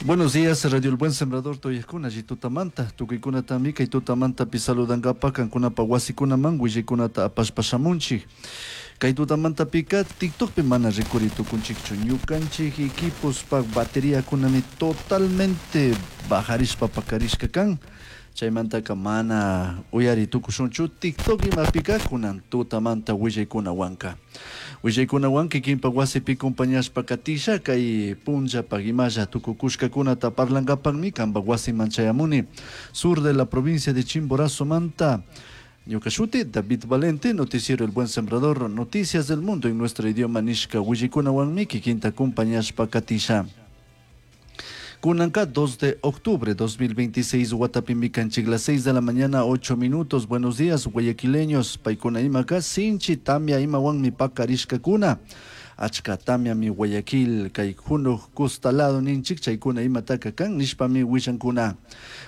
Buenos días, Radio El Buen Sembrador, Toyakuna, Tutamanta, tukuykunatami kay tutamantapi saludankapak kankunapa wasikunaman willaykunata apashpa shamunchik. Kay tutamantapika TikTokpi mana rikuri tukunchikchu. Ñukanchik equipospak bateriakunami totalmente bajarishpa pakarishka kan. Chaymantaka mana uyari tukushunchu TikTok imapika kunan tutamanta willaykunawanka. Willaykunawan kikinpak wasipi compañashpa katisha kay punllapak imalla tukukushkakunata parlankapakmi kanpak wasiman chayamuni. Sur de la provincia de Chimborazo manta. Ñuka shuti David Valente, Noticiero El Buen Sembrador, Noticias del Mundo en nuestro idioma nishka willaykunawanmi kikinta compañashpa katisha. Kunanka 2 de octubre 2026, watapimi kanchik, las 6 de la mañana, 8 minutos. Buenos días, guayaquileños. Paykuna imaka, sinchi tamia imawanmi pakarishkakuna. Achka tamiami Guayaquil, kay junuk costalado ninchik, chaykuna imataka kan, nishpami willankuna.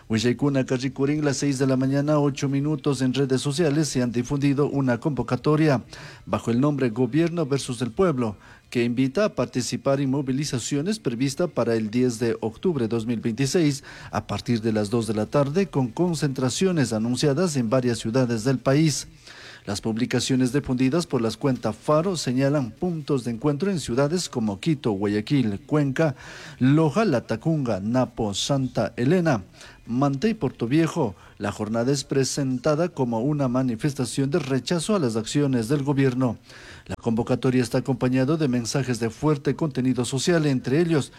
Willaykuna rikurin las 6 de la mañana, 8 minutos en redes sociales se han difundido una convocatoria bajo el nombre Gobierno versus el Pueblo, que invita a participar en movilizaciones prevista para el 10 de octubre de 2026 a partir de las 2 de la tarde con concentraciones anunciadas en varias ciudades del país. Las publicaciones difundidas por las cuentas Faro señalan puntos de encuentro en ciudades como Quito, Guayaquil, Cuenca, Loja, Latacunga, Napo, Santa Elena, Manta y Portoviejo. La jornada es presentada como una manifestación de rechazo a las acciones del gobierno. La convocatoria está acompañada de mensajes de fuerte contenido social, entre ellos: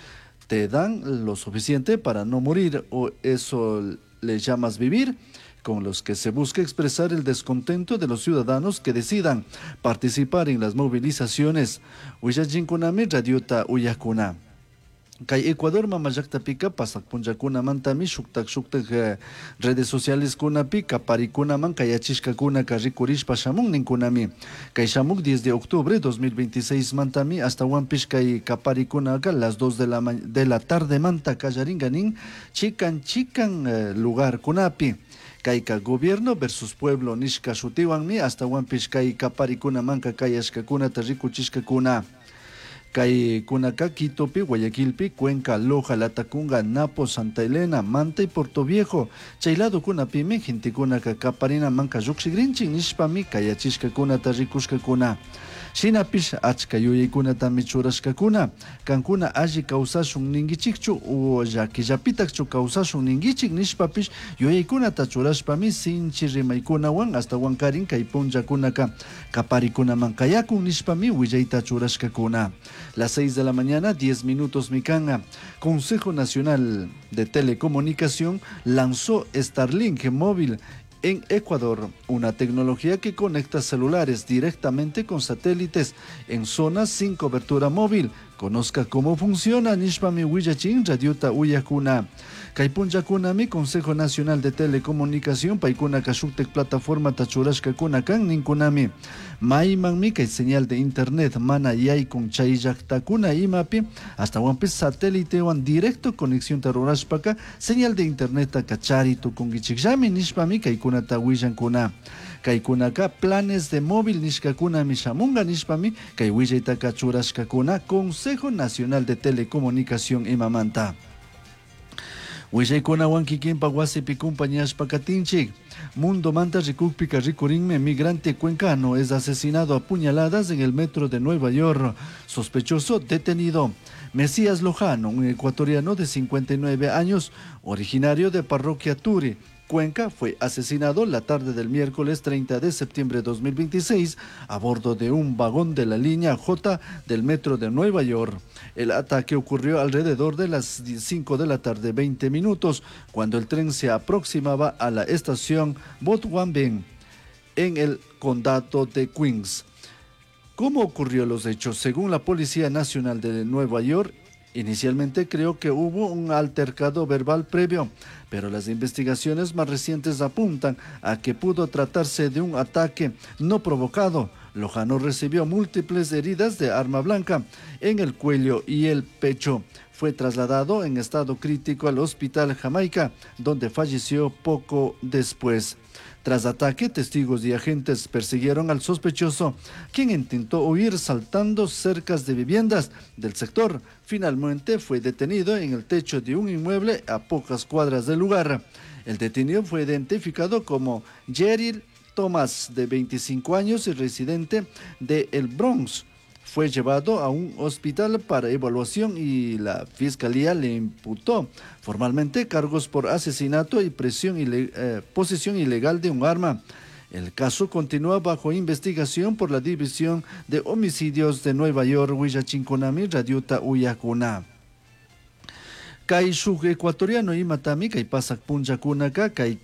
te dan lo suficiente para no morir o eso le llamas vivir, con los que se busca expresar el descontento de los ciudadanos que decidan participar en las movilizaciones. Willachinkunami radiota uyakuna. Kay Ecuador mamallaqtapika pasak punllakunamantami shuktak shuktak redes sociales kunapi kaparikunaman kayachishkakunaka rikurishpa shamun ninkunami. Kay shamuk 10 de octubre 2026 mantami astawanpish kay kaparikunaka las 2 de la tarde manta kallaringa nin chikan chikan lugar kunapi. Kayka gobierno versus pueblo nishka shutiwanmi astawanpish kay kaparikunamanka kayashkakunata rikuchishkakuna. Kay kunaka Quitopi, Guayaquilpi, Cuenca, Loja, Latacunga, Napo, Santa Elena, Manta y Portoviejo. Chay lado kunapimi gentekunaka kaparina manka llukshigrinchik nishpami kayachishkakunata rikushkakuna. Shinapish achka yuyaykunatami churashkakuna. Kankuna alli kawsashun ninkichikchu o llakillapitakchu kawsashun ninkichik nishpapish yuyaykunata churashpami sinchi rimaykunawan astawankarin kay punllakunaka kaparikunaman kayakun nishpami willayta churashkakuna. Las 6 de la mañana, 10 minutos mikanga. Consejo Nacional de Telecomunicación lanzó Starlink móvil en Ecuador, una tecnología que conecta celulares directamente con satélites en zonas sin cobertura móvil. Conozca cómo funciona nishpami willachin radiota uyakuna. Kay punllakunami Consejo Nacional de Telecomunicación paykunaka shuktak plataforma churashkakuna kan ninkunami. Maymanmi kay señal de internet mana yaykun chay llaqtakuna imapi astawanpis satélitewan directo conexión rurashpaka señal de internet kachari tukunkichikllami nishpami kaykunata willankuna. Kaykunaka planes de móvil nishkakunami shamunga nishpami kay willaytaka churashkakuna Consejo Nacional de Telecomunicación imamanta. Willaykunawan kikinpak wasipi compañashpa katinchik. Mundo manta rikukpika rikurinmi migrante cuencano es asesinado a puñaladas en el metro de Nueva York. Sospechoso detenido. Mesías Lojano, un ecuatoriano de 59 años, originario de Parroquia Turi, Cuenca, fue asesinado la tarde del miércoles 30 de septiembre de 2026 a bordo de un vagón de la línea J del metro de Nueva York. El ataque ocurrió alrededor de las 5 de la tarde, 20 minutos, cuando el tren se aproximaba a la estación Botwambin en el condado de Queens. ¿Cómo ocurrió los hechos? Según la Policía Nacional de Nueva York, inicialmente creo que hubo un altercado verbal previo, pero las investigaciones más recientes apuntan a que pudo tratarse de un ataque no provocado. Lojano recibió múltiples heridas de arma blanca en el cuello y el pecho. Fue trasladado en estado crítico al Hospital Jamaica, donde falleció poco después. Tras ataque, testigos y agentes persiguieron al sospechoso, quien intentó huir saltando cercas de viviendas del sector. Finalmente fue detenido en el techo de un inmueble a pocas cuadras del lugar. El detenido fue identificado como Jerry Thomas, de 25 años y residente de El Bronx. Fue llevado a un hospital para evaluación y la fiscalía le imputó formalmente cargos por asesinato y presión posesión ilegal de un arma. El caso continúa bajo investigación por la División de Homicidios de Nueva York, Huillachinconami, Radiota Uyacuna. Kay shuk ecuatoriano imatami kay pasak punllakunaka kay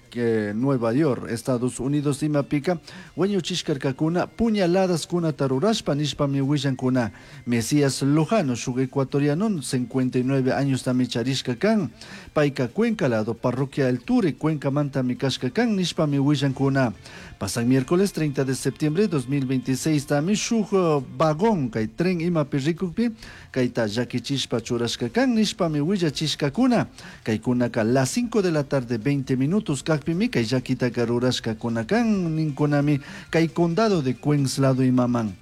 Nueva York, Estados Unidos imapika wañuchishkarkakuna puñaladakunata rurashpa nishpami willankuna. Mesías Lojano shuk ecuatoriano 59 años tami charishka kan. Payka Cuenca lado parroquia El Ture Cuenca mantami kashka kan nishpami willankuna. Pasak miércoles 30 de septiembre de 2026 tami shuk vagón kay tren imapi rikukpi kayta llakichishpa churashka kan nishpami willachishkakuna. Kaykunaka las 5 de la tarde 20 minutos kakpimi kay llakitaka rurashkakuna kan ninkunami kay condado de Queens lado imaman.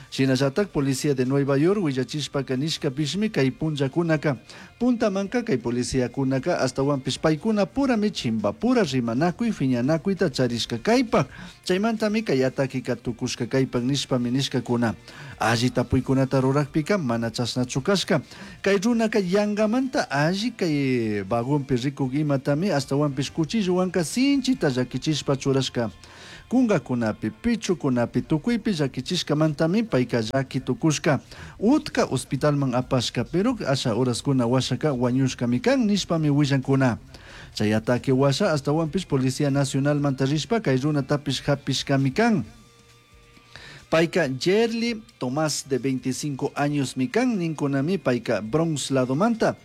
Shinallatak policía de Nueva York willachishpaka nishkapishmi kay punllakunaka puntamanka kay policiakunaka ashtawanpish paykuna purami chimbapura rimanakuy fiñanakuyta charishka kaypak chaymantami kay atakeka tukushka kaypak nishpami nishkakuna. Alli tapuykunata rurakpika mana chashnachu kashka kay runaka yangamanta alli kay vagonpi rikuk imatami ashtawanpish cuchillowanka sinchita llakichishpa churashka. Kungakunapi, pichukunapi, tukuypi llakichishkamantami payka llaki tukushka. Utka hospitalman apashka, pero asha horaskuna washaka wañushkami kan nishpami willankuna. Chay ataque washa ashtawanpish Policía Nacional manta rishpa kay runatapish hapishkami kan. Payka Jerly Tomás de 25 años mikan ninkunami payka Bronx ladomanta.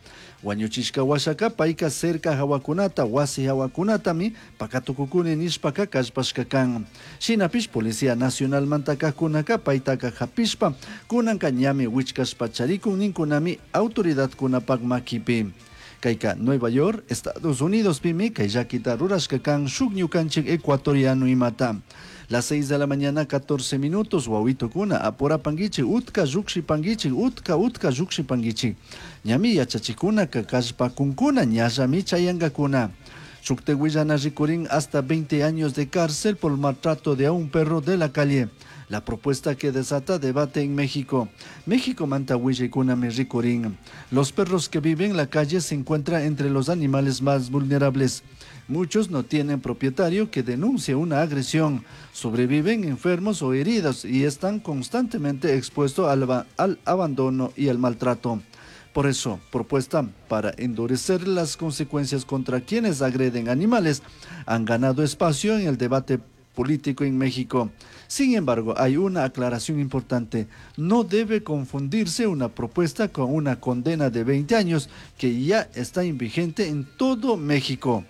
Wañuchishka washaka payka cerca hawakunata wasi hawakunatami pakatukukuni nishpaka kallpashka kan. Shinapish Policía Nacional manta kajkunaka paytaka hapishpa kunanka ñami wichkashpa charikun ninkunami autoridadkunapak makipi. Kayka Nueva York, Estados Unidos pimi kay llakita rurashka kan shuk ñukanchik ecuatoriano imata. Las 6 de la mañana, 14 minutos, wawitukuna, apurapanguichik, utka llukshipanguichik, utka, utka llukshipanguichik. Ñami yachachikunaka kallpakunkuna, ñallami chayankakuna. Shukte willana rikurin hasta 20 años de cárcel por maltrato de a un perro de la calle. La propuesta que desata debate en México. México manta huillaykunami rikurin. Los perros que viven en la calle se encuentran entre los animales más vulnerables. Muchos no tienen propietario que denuncie una agresión, sobreviven enfermos o heridos y están constantemente expuestos al abandono y al maltrato. Por eso, propuesta para endurecer las consecuencias contra quienes agreden animales han ganado espacio en el debate político en México. Sin embargo, hay una aclaración importante. No debe confundirse una propuesta con una condena de 20 años que ya está vigente en todo México.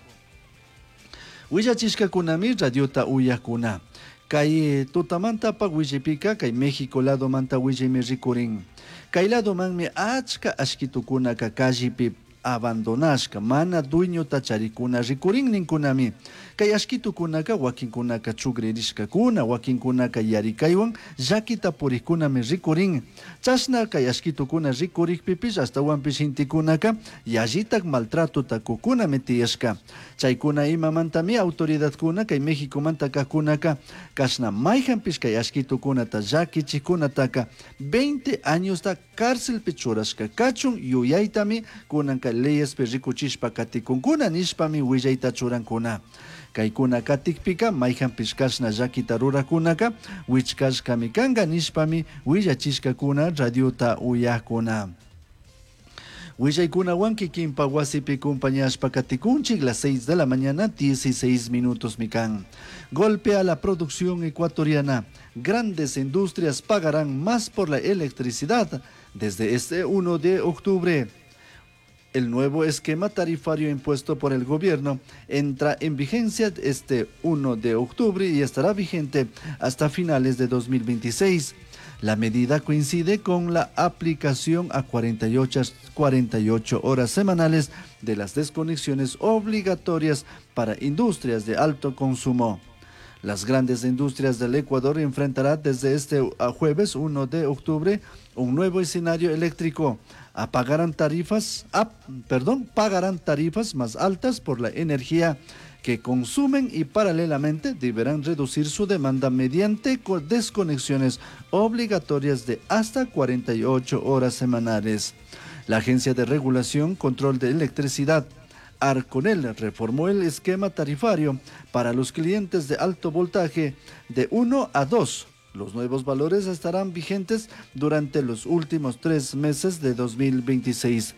Willachishkakunami radiota uyakuna. Kay tutamanta pa willipika kay México lado manta willimi rikurin. Kay lado manmi achka ashkitukunaka kallipi abandonashka mana dueñota charikuna rikurin ninkunami. Kay ashkitukunaka wakinkunaka chukririshkakuna, wakinkunaka yarikaywan llakita purikkunami rikurin. Chashna kay ashkitukuna rikurikpipish ashtawanpish gentekunaka yallitak maltratota kukunami tiyashka. Chaykuna imamantami autoridadkuna kay Mexicomanta kajkunaka kashna mayjanpish kay ashkitukunata llakichikkunataka 20 añosta cárcelpi churashka kachun yuyaytami kunanka leyespi rikuchishpa katikunkuna nishpami willayta churankuna. Kaykuna katikpika mayjanpish kashna llakita rurakunaka wichkashkami kanka nishpami willachishkakuna radiota uyakuna. Willaykunawan kikinpa wasipi compañashpa katikunchik las 6 de la mañana 16 minutos mikan. Golpe a la producción ecuatoriana. Grandes industrias pagarán más por la electricidad desde este 1 de octubre. El nuevo esquema tarifario impuesto por el gobierno entra en vigencia este 1 de octubre y estará vigente hasta finales de 2026. La medida coincide con la aplicación a 48 horas semanales de las desconexiones obligatorias para industrias de alto consumo. Las grandes industrias del Ecuador enfrentarán desde este jueves 1 de octubre un nuevo escenario eléctrico. Apagarán tarifas, perdón, pagarán tarifas más altas por la energía que consumen y paralelamente deberán reducir su demanda mediante desconexiones obligatorias de hasta 48 horas semanales. La Agencia de Regulación Control de Electricidad Arconel reformó el esquema tarifario para los clientes de alto voltaje de 1 a 2. Los nuevos valores estarán vigentes durante los últimos 3 meses de 2026.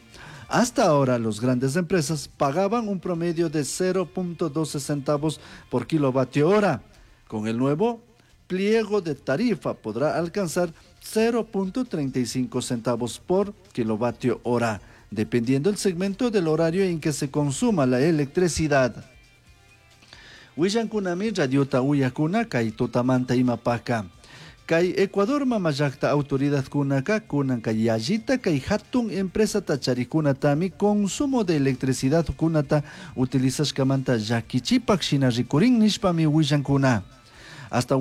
Hasta ahora, las grandes empresas pagaban un promedio de 0.12 centavos por kilovatio hora. Con el nuevo pliego de tarifa podrá alcanzar 0.35 centavos por kilovatio hora, dependiendo del segmento del horario en que se consuma la electricidad. Willankunami radiota uyakuna kay tutamanta imapaka. Kay Ecuador mamallakta autoridadkunaka kunan kay yallita kay hatun empresata charikunatami consumo de electricidad kunata utilizashkamanta llakichipak shina rikurin nishpami willankuna. Hasta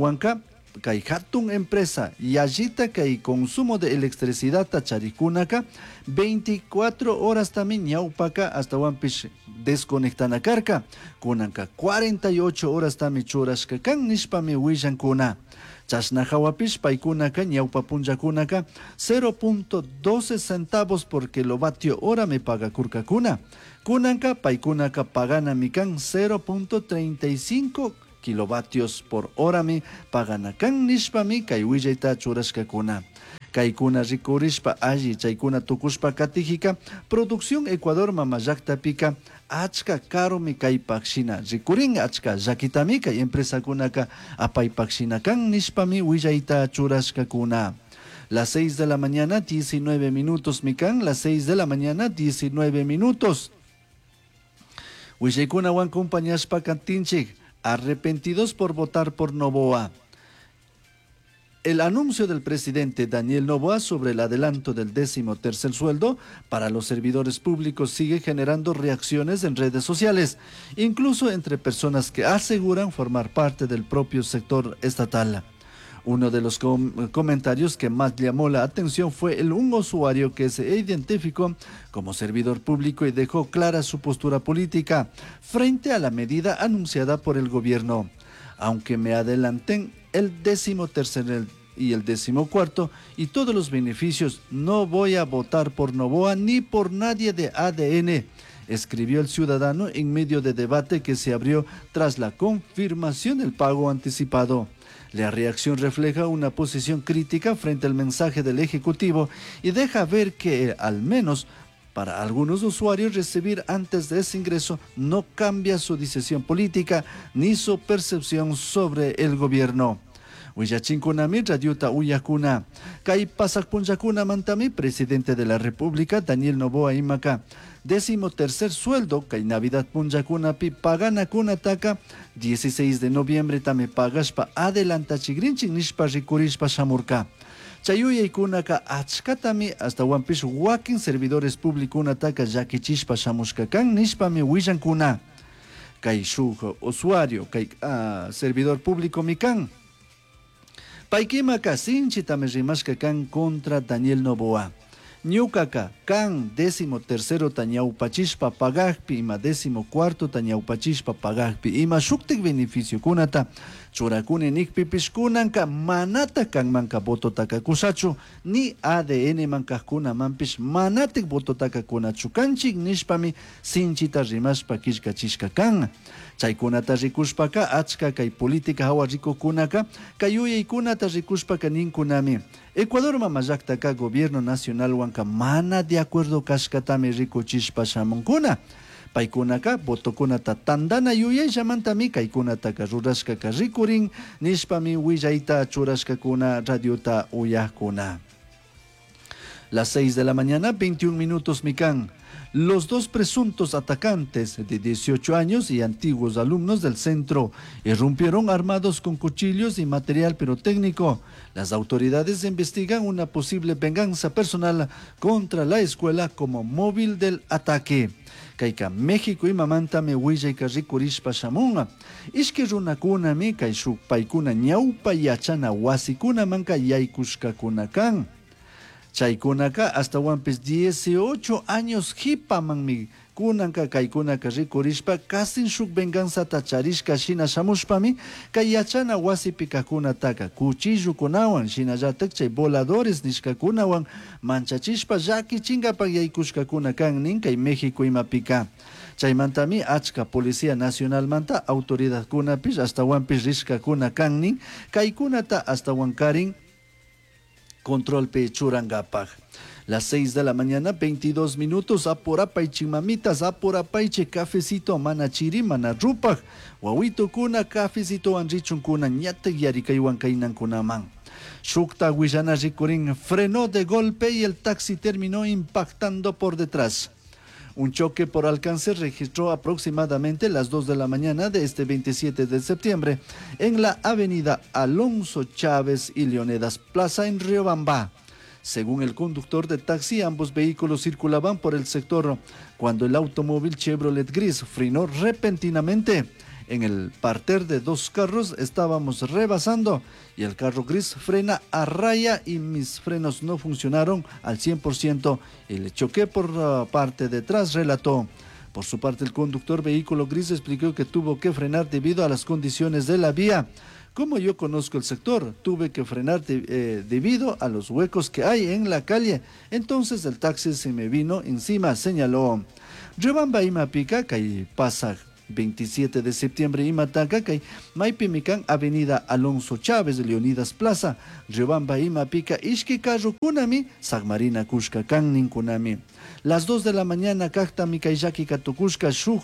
kay hatun empresa yallita kay consumo de electricidad charikunaka 24 horas tami ñawpaka astawanpish desconectana karka kunanka 48 horas tami churashka kan nishpami willankuna. Chashna hawapish paykunaka ñawpa punllakunaka 0.12 centavos por kilovatio hora me pagakurkakuna. Kunanka paykunaka paganami kan 0.35 kilovatios por hora mi paganakan nishpami kay willayta churashkakuna. Kaykuna rikurishpa alli chaykuna tukushpa katijika producción Ecuador mamallaktapika achka karumi kaypak shina rikurin achka llakitami kay empresakunaka apaypak shina kan nishpami willayta churashkakuna. Las 6 de la mañana 19 minutos mikan, las 6 de la mañana 19 minutos. Willaykunawan compañashpa kantinchik, arrepentidos por votar por Noboa. El anuncio del presidente Daniel Noboa sobre el adelanto del 13º sueldo para los servidores públicos sigue generando reacciones en redes sociales, incluso entre personas que aseguran formar parte del propio sector estatal. Uno de los comentarios que más llamó la atención fue el un usuario que se identificó como servidor público y dejó clara su postura política frente a la medida anunciada por el gobierno. Aunque me adelanten el 13º y el 14º y todos los beneficios, no voy a votar por Noboa ni por nadie de ADN, escribió el ciudadano en medio de debate que se abrió tras la confirmación del pago anticipado. La reacción refleja una posición crítica frente al mensaje del Ejecutivo y deja ver que, al menos para algunos usuarios, recibir antes de ese ingreso no cambia su decisión política ni su percepción sobre el gobierno. Willachinkunami radiota uyakuna. Kay pasak punllakunamantami presidente de la República Daniel Noboa imaka 13º sueldo kay Navidad punllakunapi paganakunataka 16 de noviembre tami pagashpa adelantachigrinchik nishpa rikurishpa shamurka. Chay yuyaykunaka achkatami astawanpish wakin servidores publikunataka llakichishpa shamushka kan nishpami willankuna. Kay shuk usuario, kay servidor público mi kan. Paykimaka sinchitami rimashka kan contra Daniel Noboa. Ñukaka kan 13º ñawpachishpa pagakpi ima 14º ñawpachishpa pagakpi ima shuktik beneficiokunata churakuni nikpipish kunanka manata kanmanka vototaka kushachu ni ADN mankajkunamanpish manatik vototaka kunachu kanchik nishpami sinchita rimashpa killkachishka kan. Chaykunata rikushpaka achka kay política hawa rikukunaka kay yuyaykunata rikushpaka ninkunami. Ecuador mamallaktaka gobierno nacional wanka mana de acuerdo kashkatami rikuchishpa shamunkuna. Paykunaka votokunata tandana yuyayllamantami kaykunataka rurashkaka rikurin nishpami willayta churashkakuna radiota uyakuna. Las 6 de la mañana, 21 minutos, Micán. Los dos presuntos atacantes de 18 años y antiguos alumnos del centro irrumpieron armados con cuchillos y material pirotécnico. Las autoridades investigan una posible venganza personal contra la escuela como móvil del ataque. Kayka México imamantami willayka rikurishpa shamunga. Ishki runakunami kay shuk paykuna ñawpa yachana wasikunamanka yaykushkakuna kan. Chaykunaka astawanpis 18 años jipamanmi kunanka kaykunaka rikurishpa kasin shuk venganzata charishka shina shamushpami kay yachana wasipi kajkunataka cuchillukunawan shinallatak chay voladores nishkakunawan manchachishpa llakichinkapak yaykushkakuna kan nin kay México imapika. Chaymantami achka Policía Nacionalmanta autoridadkunapish astawanpish rishkakuna kan nin kaykunata astawankarin controlpi churankapak. Las 6 de la mañana, 22 minutos, apurapaichi mamitas, apurapaichi cafecito mana chiri, mana rupaj, wawitukuna cafecito richunkuna ñatak yarikaywan kaynankunaman. Shukta willana rikurin frenó de golpe y el taxi terminó impactando por detrás. Un choque por alcance registró aproximadamente las 2 de la mañana de este 27 de septiembre en la avenida Alonso Chávez y Leonedas Plaza en Riobamba. Según el conductor de taxi, ambos vehículos circulaban por el sector cuando el automóvil Chevrolet gris frenó repentinamente. En el parter de dos carros estábamos rebasando y el carro gris frena a raya y mis frenos no funcionaron al 100% y le choqué por la parte de atrás, relató. Por su parte, el conductor vehículo gris explicó que tuvo que frenar debido a las condiciones de la vía. Como yo conozco el sector, tuve que frenar debido a los huecos que hay en la calle. Entonces el taxi se me vino encima, señaló. Riobamba imapika kay pasaj 27 de septiembre imataka kay maypimi kan Avenida Alonso Chávez Leonidas Plaza Riobamba imapika ishki carrokunami sagmarina kushka kan ninkunami. Las 2 de la mañana kaktami kay llakika tukushka shuk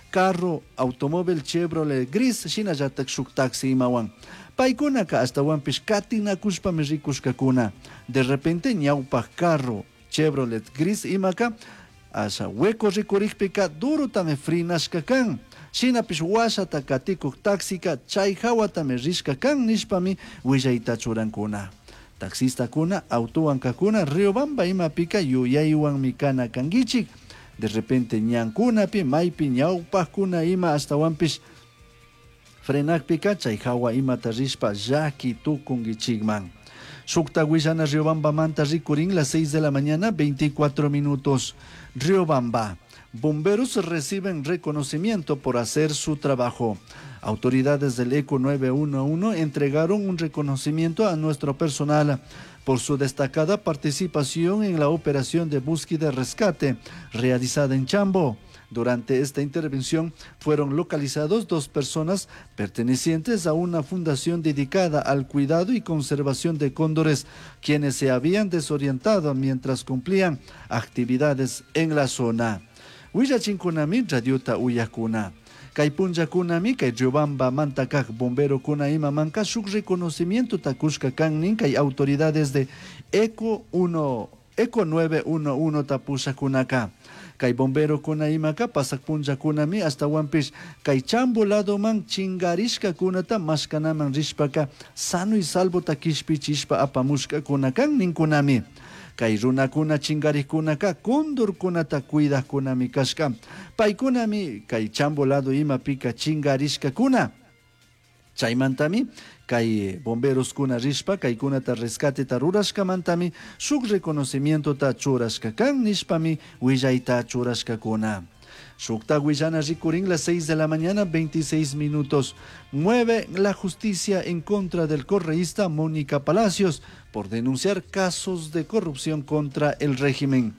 carro automóvil Chevrolet gris shinallatak shuk taxi imawan. Paykunaka astawanpish katinakushpami rikushkakuna. De repente ñawpaj carro Chevrolet gris imaka asha hueco rikurikpika durotami frinashka kan. Shinapish washata katikuk taxika chay hawatami rishka kan nishpami willayta churankuna. Taxistakuna autowan kakuna Riobamba imapika yuyaywanmi kana kankichik. De repente ñankunapi maypi ñawpajkuna ima astawanpish frenakpika chay hawa imata rishpa llaki tukunkichikman. Shukta willana Riobambamanta rikurin las 6 de la mañana, 24 minutos. Riobamba. Bomberos reciben reconocimiento por hacer su trabajo. Autoridades del ECO 911 entregaron un reconocimiento a nuestro personal por su destacada participación en la operación de búsqueda y rescate realizada en Chambo. Durante esta intervención fueron localizados 2 personas pertenecientes a una fundación dedicada al cuidado y conservación de cóndores, quienes se habían desorientado mientras cumplían actividades en la zona. Willachinkunami radiota uyakuna. Kay punllakunami kay Riobamba mantakaj bombero kuna ima manka shuk reconocimiento takushka kan nin kay autoridades de ECO 1, ECO 911 tapushakunaka. Kay bombero kuna imaka pasak punllakunami astawanpish kay Chambo ladoman chingarishka kunata mashkanaman rishpaka sano y salvo takishpichishpa apamushka kunakan ninkunami. Kay runakuna chingarikkunaka kondorkunata cuidajkunami kashka. Paykunami kay Chambo lado imapika chingarishkakuna. Chaymantami kay bomberoskuna rishpa kaykunata rescateta rurashkamantami shuk reconocimientota churashka kan nishpami willayta churashkakuna. Shukta willana rikurin las 6 de la mañana, 26 minutos. Mueve la justicia en contra del correísta Mónica Palacios por denunciar casos de corrupción contra el régimen.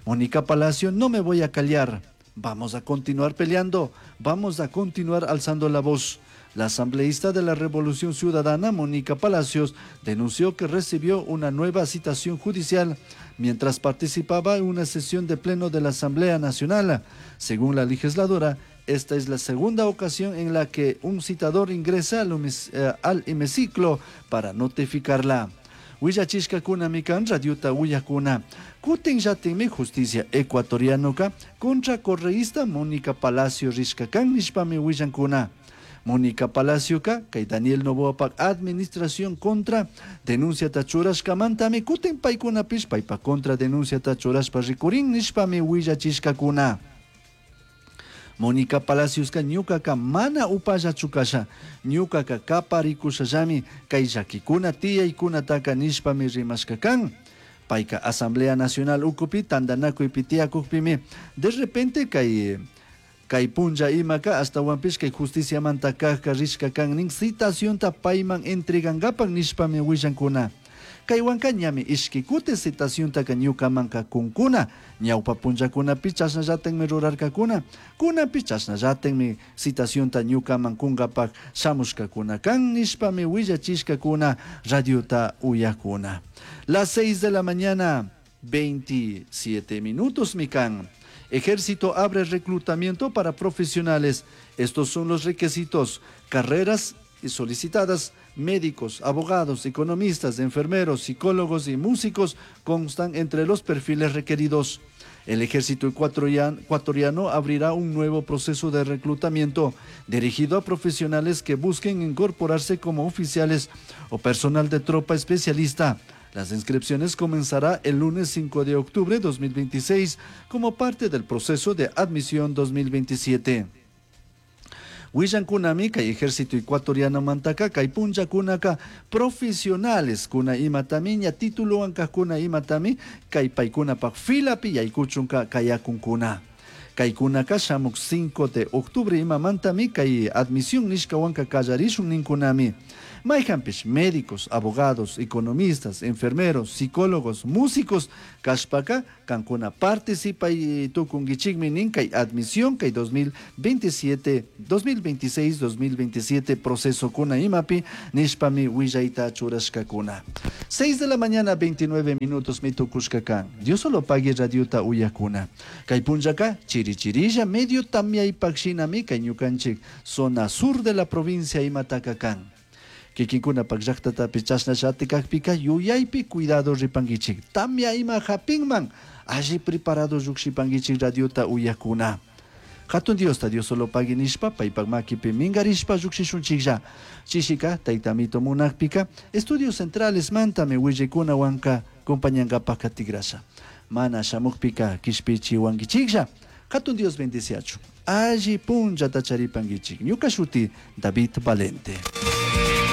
Mónica Palacio, no me voy a callar. Vamos a continuar peleando, vamos a continuar alzando la voz. La asambleísta de la Revolución Ciudadana, Mónica Palacios, denunció que recibió una nueva citación judicial mientras participaba en una sesión de pleno de la Asamblea Nacional. Según la legisladora, esta es la segunda ocasión en la que un citador ingresa al hemiciclo para notificarla. Willachishcacunami can radiota uyajcuna. Cutinllatinmi justicia ecuatorianoca contra correísta Mónica Palacio rishca can nishpami huillancuna. Mónica Palacioca kay Daniel Noboapak administración contra denunciata churashcamantami cutin paicunapish paipa contra denunciata churashpa ricurin nishpami huillachishcacuna. Mónica Palaciosca ñucaca mana upallachu casha, ñucaca caparicushallami kay llaquicuna tiyaycunataca nishpami rimashca can. Paica Asamblea Nacional ucupi tandanakuypi tiyakukpimi de repente kay punlla imaka ashtawanpish kay justiciamanta kajka rishka kan nin citacionta payman entregangapak nishpami willankuna. Kaywanka ñami ishki kuti citaciontaka ñukamanka kunkuna, ñawpa punllakunapi chashnallatakmi rurarkakuna, kunapi chashnallatakmi citacionta ñukaman kunkapak shamushkakuna kan nishpami willachishkakuna radiota uyakuna. Las 6 de la mañana, 27 minutos mi kan. Ejército abre reclutamiento para profesionales. Estos son los requisitos: carreras solicitadas, médicos, abogados, economistas, enfermeros, psicólogos y músicos constan entre los perfiles requeridos. El ejército ecuatoriano abrirá un nuevo proceso de reclutamiento dirigido a profesionales que busquen incorporarse como oficiales o personal de tropa especialista. Las inscripciones comenzará el lunes 5 de octubre de 2026 como parte del proceso de admisión 2027. Willankunami kay ejército ecuatoriano mantaka kay punllakunaka profesionales kuna imatami ña titulowan kajkuna imatami kay paykunapak filapi yaykuchunka kayakunkuna. Kaykunaka shamuk 5 de octubre imamantami kay admisión nishkawanka kallarishun ninkunami. Mayjanpish médicos, abogados, economistas, enfermeros, psicólogos, músicos kashpaka kankuna participay tukunkichikmi nin kay admisión kay 2027, 2026, 2027 proceso kuna imapi nishpami willayta churashkakuna. 6 de la mañana 29 minutos mi tukushka kan. Diosolopague radiota uyakuna. Kay punllaka chiri chirilla medio tamyaypak shinami kay ñukanchik zona sur de la provincia imataka kan. Kikinkunapak llaqtatapi chashnallati kakpika yuyaypi cuidado ripankichik. Tamya ima hapinman alli preparado llukshipankichik radiota uyakuna. Hatun Diosta Diosolopagui nishpa paypak makipi minkarishpa llukshishunchiklla. Chishika taytamito munakpika estudios centrales mantami willaykunawanka compañankapak katigrasha. Mana shamukpika kishpichiwankichiklla. Hatun Dios bendiciachun. Alli punllata charipankichik. Ñuka shuti David Valente.